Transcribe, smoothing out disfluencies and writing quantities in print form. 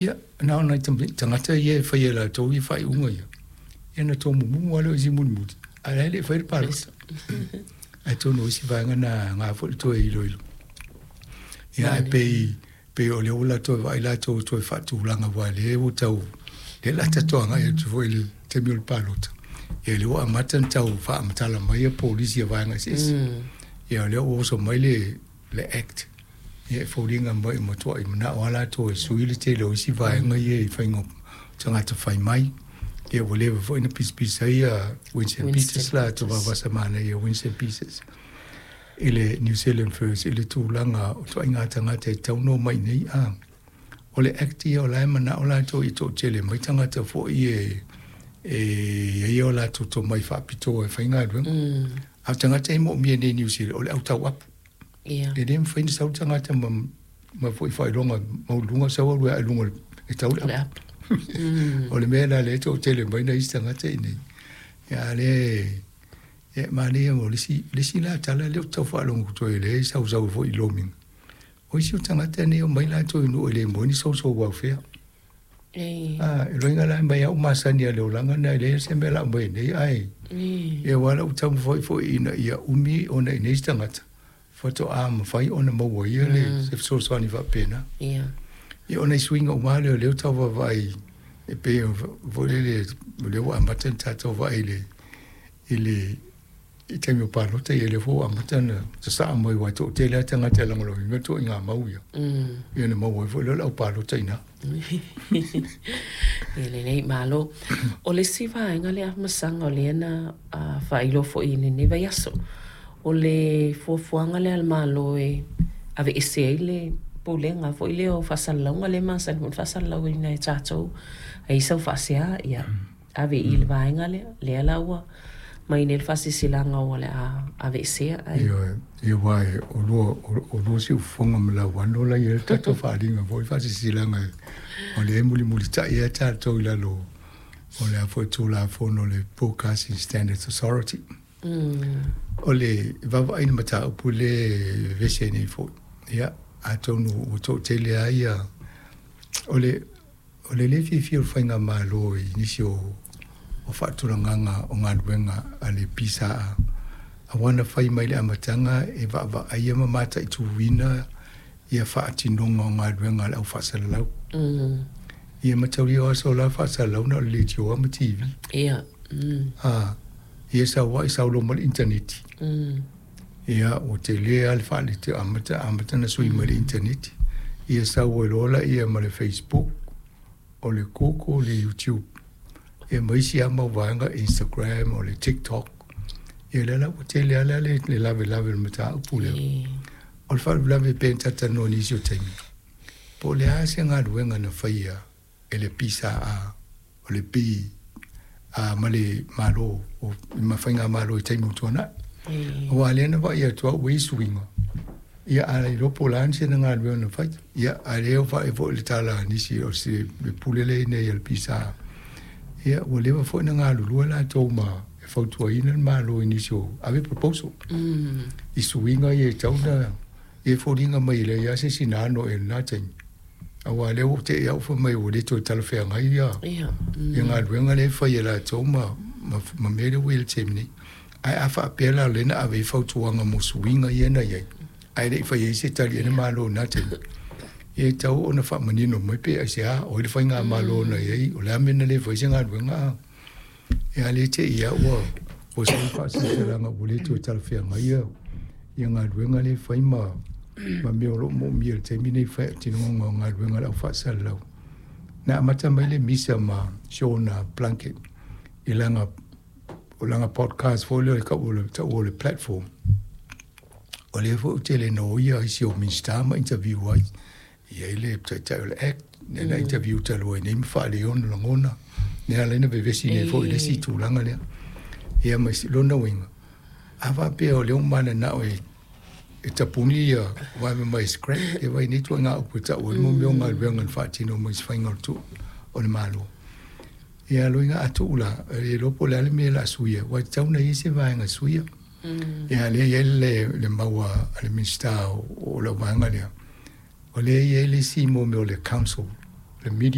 Ia, na o nai tagata ia e faia e latou ia faaiuga ia, ia ona tomumumu lava lea o isi mulimuli, ae la e le i faia le palota. Atonu o isi vaega na e aoga foi le toe iloilo. Ia ae pei, pei o lea ua toe vaai latou e toe faatulaga aua o lea ua tau, lea o le a tatou agai atu foi i le taimi o le palota, ia lea ua amata ona tau faamatala mai ia polisi a vaega eseese. Ia o lea ua oso mai le le Act, ia e foliga mai ua matuai manao lava latou e sui le tele o isi vaega ia i faiga o tagata fai mai. Ia ua leva foi ona pisapisa ai ia Winston Peters latou vavasa manaia Winston Peters i le New Zealand First i le tulaga o ituaiga tagata e tatau ona omai i inei. A o le Act ia o la e manao latou ia toatele mai tagata foi e e i ai o latou tomai faapitoa e faigaluega. A o tagata e moomia nei i Niu Sila o le au tauapu. Ia. E le mafai ona sau le tagata ma ma foi faailoga maualuluga sau alu ae i luga e tau le apu. O le mea la lea e toatele mai nai isi tagata i inei. Ia a lea e manaia o le isi, le isi la tala lea ou te tau faalogo atu ai lea e sausau ai foi i lomiga. O isi o tagata nei e omai latou i nuu e le maua ai ni social welfare. A, e loiga la mai au masani a le olaga na e leai se mea la mai nei ai. Ia aua la ua taumafai foi ina ia umi ona i inei se tagata faatoa mafai ona maua ia le se fesoasoani faapena. Ia. Ia o nai suiga uma lea o lea ua tau vaavaai e pei foi lele o lea ua amata ona tatou vaai i le i le i taimi o palota, ia lea foi ua amata ona sasaa mai aua e toatele lava tagata e lagolagoina ituaiga mau ia. Ia ona maua ai foi lea o le aupalota i ina. Ia lelei, malo. O le isi vaega lea Afamasaga o lea na faailoa foi i lenei vaiaso, o le fuafuaga lea a le Malo e aveese ai le Pulega foi lea o Faasalalauga lea e masani foi ona faasalalauina e tatou, a i ai sau faasea, ia ave i le vaega lea, lea la ua mai nei le faasilasilaga o le a aveesea. Ae... Ioe, ia aua o lua, o lua siufofoga ma lauano la e i ai le tatou faaaliga foi faasilasilaga o lea e mulimulitai lava tatou i lalo o le a foi Tulafono o le Broadcasting Standards Authority. O le vaavaai i le mataupu lea e vevesi ai nei foi, ia, atonu ua toatele lava ia, o le O le le fiafia o le Faigamalo i nisi o faatulagaga o galuega a le PSA, aua na fai mai i le amataga e vaavaaia ma mataituina ia faatinoga o galuega a le au faasalalau. Ia mataulia o aso la faasalalau na o le leitioa ma TV. Ia. Ia sau ai sau loa ma le initaneti. Ia ua tele lava le faalete amata amata ona sui mai le initaneti. Ia sau ai loa laia ma le Facebook, o le Google, le YouTube, ia ma isi lava mau vaega, Instagram, o le TikTok. Ia lea la ua tele lava la le lavelave o le mataupu lea. O le faalavelave pei ona talatalanoa i nisi o taimi, po o le a se galuega na faia e le PSA, o le P, a, ma le Malo, o, ma Faigamalo i taimi ua tuanai. Aua lea na vaai atu au ua i ai suiga, ia a le iloa po o le a sina galuega na fai. Ia, a lea ua vaai foi i le tala a nisi o se le pule lea i inei a le PSA, ia ua leva foi ona galulue latou ma e fautuaina le Malo i nisi o ave proposal i suiga ia e tatau ona e foliga mai e leai lava se isi na ano i lena taimi. Aua o lea ua te i au fai mai ua le toe talafeagai ia, ia galuega lea e fai e latou ma, ma, ma mea lea ua i ai i le taimi nei. Ae a faapea la o lea na ave ai fautuaga mo suiga ia na i ai, ae le i fai ai se tali a le Malo i lena taimi, ia e tatau ona faamanino mai pe aisea, o ai le faigamalo na i ai, o le a mea na le fai ai se galuega a. Ia a le te i lava ua ua sau le faasilasilaga ua le toe talafeagai ia ia galuega lea e fai ma ma mea o lo o moomia i le taimi nei faatinoga o galuega a le au faasalalau. Na amata mai le misa ma Sean Plunket i lana o lana podcast foi lea o le tau o le platform. O lea foi ua tele na o ia isi o Minisita ma interview ai. E i ai le taitai o le Act, lea na interview talu ai nei ma faaali ai ona lagona, lea ala ai ona vevesi nei foi i le isi tulaga lea. Ia ma lona uiga, a faapea o lea ua mananao e e tapuni ia vaeva mai scrap, ia vaai nei ituaiga upu e tau ai mo mea o galuega na faatino mai se faiga o le tuu o le Malo. Ia loiga a tuu la, e le iloa po o le a le mea o le a suia, aua e tatau ona i ai se vaega e suia. Ia lea e i ai le, le mau a le Minisita o lau vaega lea, o lea e i ai le isi mo mea o le council Le media.